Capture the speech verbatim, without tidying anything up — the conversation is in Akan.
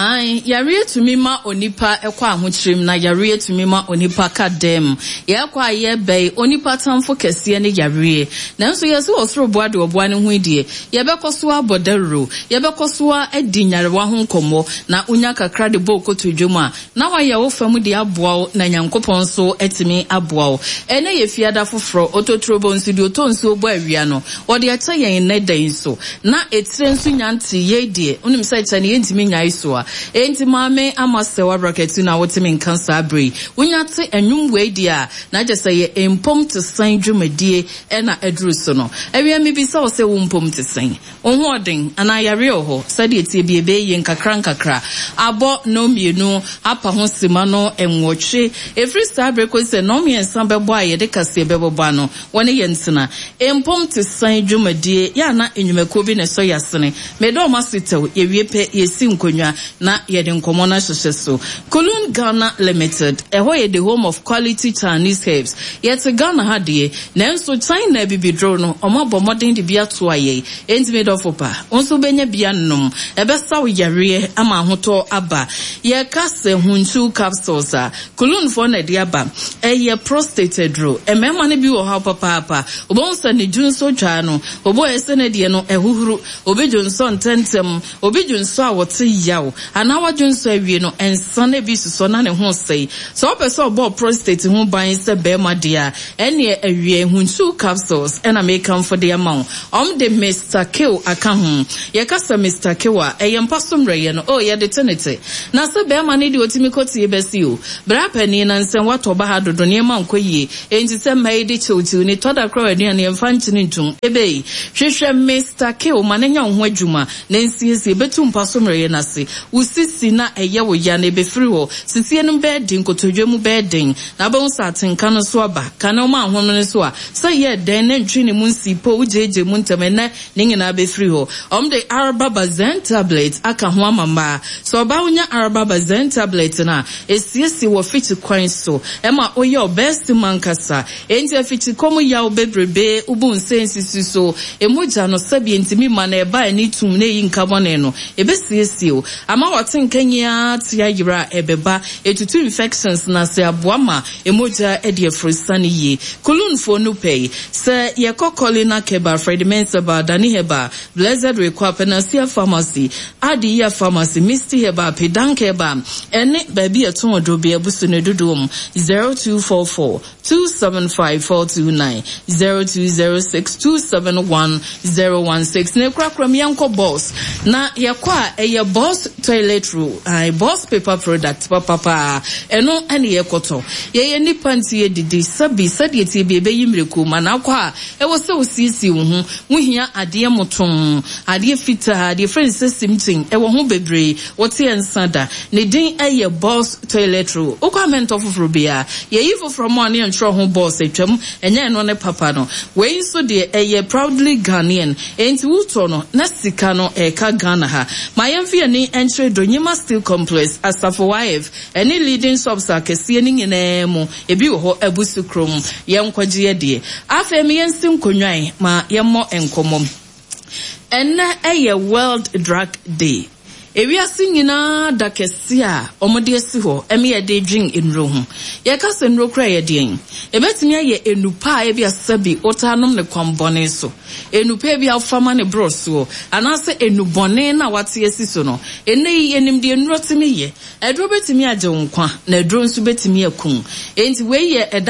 Aane, yareɛ tumi ma onipa kɔ ahokyerem na yareɛ tumi ma onipa ka dɛm. Yɛkɔ a yɛba yi, onipa tamfo kɛseɛ ne yareɛ. Nanso yɛse ɔsoro boa deɛ ɔboa ne ho yi deɛ, yɛbɛkɔ so abɔ dawuro, yɛbɛkɔ so adi nyarewa ho nkɔmmɔ, na wonya kakra de bɔ wo kotodwe mu a, na wayɛ wo fam de aboa wo na Nyankopɔn nso atumi aboa wo. Ɛnnɛ yɛ Fiada foforɔ, Ototorobɔ nso deɛ ɔtɔ nsuo bɔ awia no, ɔde akyɛ yɛn nnɛ da yi nso. Na etire nso nya ntee yei deɛ, wonim sɛ kyɛ no yɛntumi nnyae so a. Enti Maame Ama Sɛwa Brakatu na wote me nka saa berɛ yi. Wonya te nnwom wei deɛ a, na kyerɛ sɛ yɛ mpom te sɛn dwumadie na aduru so no. Awia mebisa wo sɛ wo mpom te sɛn? Wo ho ɔden anaa yareɛ wɔ hɔ? Sɛdeɛ ɛteɛ bi ɛbɛyɛ yie nkakra nkakra. Abɔ nnɔn mmienu apa ho sima no nwɔtwe. Ɛfiri saa berɛ kɔsi sɛ nnɔn mmiɛnsa bɛbɔ a yɛde kaseɛ bɛbɔbɔ ano. Wɔne yɛn ntena. Mpom te sɛn dwumadie yɛ a na nnwumakuo bi na ɛsɔ yɛn asene. Meda wɔn ase tɛw. Yɛwie pɛ, yɛsi nkonnwa na yɛde nkɔmmɔ no ahyehyɛ so. Kulun Ghana Limited, ɛhɔ yɛ the home of quality Chinese herbs. Yɛte Ghana ha deɛ, nanso China abibiduro no, wɔabɔ mmɔden de bi atoa yɛn. Enti me dɔfo pa, wo nso wobɛnya bi anom. Ɛbɛsa wo yareɛ ama ahotɔ aba. Yɛka sɛ Hunchu capsules a, Kulunfoɔ na ɛde aba. Ɛyɛ prostate aduro. Mmarima no bi wɔ haw papaapa. Wobɛhu sɛ ne dwonsɔ twaa no, obi wɔ hɔ sɛ ne deɛ no ɛhuhuru, obi dwonsɔ ntɛmntɛm, obi dwonsɔ a ɔte yaw, anaa wadwonsɔ awie no, nsa no bi sosɔ na ne ho sɛe. Sɛ wopɛ sɛ ɔbɔ prostate ho ban sɛ barima deɛ a, ɛnneɛ awie Hunsu capsules ɛna mekamfo de ama wo. Wɔn de Mister Kill aka ho. Yɛka sɛ Mister Kill a, ɛyɛ mpa so mmerɛyɛ no. Oh, yɛde te ne te. Na sɛ barima no deɛ ɔtumi kɔ tie bɛsi o. Bra panin na nsɛm watɔ ba ha dodo, nneɛma nkɔ yie. Enti sɛ mma yi de kyewkyew ni, tɔ da koraa aduane yɛmfa nkyene ntom. Ebei, hwehwɛ Mister Kill ma no nyɛ wo ho adwuma na nsiesie. Bɛtu mpa so mmerɛyɛ no ase. Wo sisi na ɛyɛ wo ya no, ɛbɛfiri hɔ. Sisie no bɛyɛ den, nkotodwe mu bɛyɛ den. Na wobɛhu sɛ atenka no nso aba. Ka ne woma ahome no so a, sɛ ɛyɛɛ dɛn na ntwi ne mu nsii po, wogyegye mu ntɛm. Ɛnnɛ, ne nyinaa bɛfiri hɔ. Wɔde Araba Bazen tablet aka ho ama mmaa. Sɛ ɔbaa wonya Araba Bazen tablet no a, ɛsiesie wɔ fikyi kwan so. Ɛma woyɛ ɔbaasum ankasa. Enti afikyikɔ mu yaw bebrebe, wobu nsa nsisi so, mogya no sɛdeɛ ntumi mma na ɛba ani tum na ɛyi nka bɔne no, ɛbɛsiesie wo. Ama w'atenka nyinaa te ayera a ɛbɛba. Ɛtutu infections na sɛ aboa ma mogya de afurusane yie. Kulunfoɔ no pɛ yi. Sɛ yɛkɔ Colina Keba, Fred Mensah Bar, Dani Herbal, Blessed Rekwa, Panacea Pharmacy, Adiya Pharmacy, Misty Herbal, Pedank Herbal, ɛne baabi a ɛtɔn aduro bi abusu no dodoɔ mu zero two four four two seven five four two nine zero two zero six two seven one zero one six. Na ekurakura mu yɛnkɔ Boss na yɛkɔ a ɛyɛ Boss toilet roll, ayi Boss paper product papapaa ɛno ɛne yɛkɔtɔ. Yɛyɛ nipa nti yɛdidi sɛbi sɛdeɛ tie bi ɛbɛyi mmiriko ma na akɔ a ɛwɔ sɛ osiesie wo ho. Wohia adeɛ moton, adeɛ fitaa, adeɛ fɛn sɛ simtin ɛwɔ ho bebree. Wɔte nsa da ne din ɛyɛ Boss toilet roll. Wokɔ amɛntɔ foforɔ biara yɛyi foforɔ mu a ne yɛntwerɛ ho Boss atwam, ɛnyɛ ɛno ne papa no. Wei nso deɛ ɛyɛ proudly Ghanaian, enti wotɔ no na sika no ɛka Ghana ha. Ma yɛmfa yɛn ani nkyerɛ Donyima Steel Complex, Asafo Y F ɛne leading shops akɛseɛ no nyinaa mu. Ebi wɔ hɔ abusu kurom. Yɛnkɔgye yɛ deɛ. Afei mi yɛnsi nkonnwan ma yɛmmɔ nkɔmmɔ. Ɛnnɛ ɛyɛ World Drug Day. Ewiase nyinaa da kɛse a wɔde asi hɔ ɛme yɛde dwen nnuro ho. Yɛka sɛ nnuro kora yɛ deɛn? Ebɛtumi ayɛ enupa a ebi asɛbi wotaa nom ne kwan bɔne so. Enupa bi a wofama ne borɔ soɔ anaasɛ enubɔne na wate asi so no. Ɛnnɛ yi yɛnim deɛ nnuro tumi yɛ. Aduro bɛtumi agye wo nkwa na aduro nso bɛtumi akum. Enti wei yɛ ɛda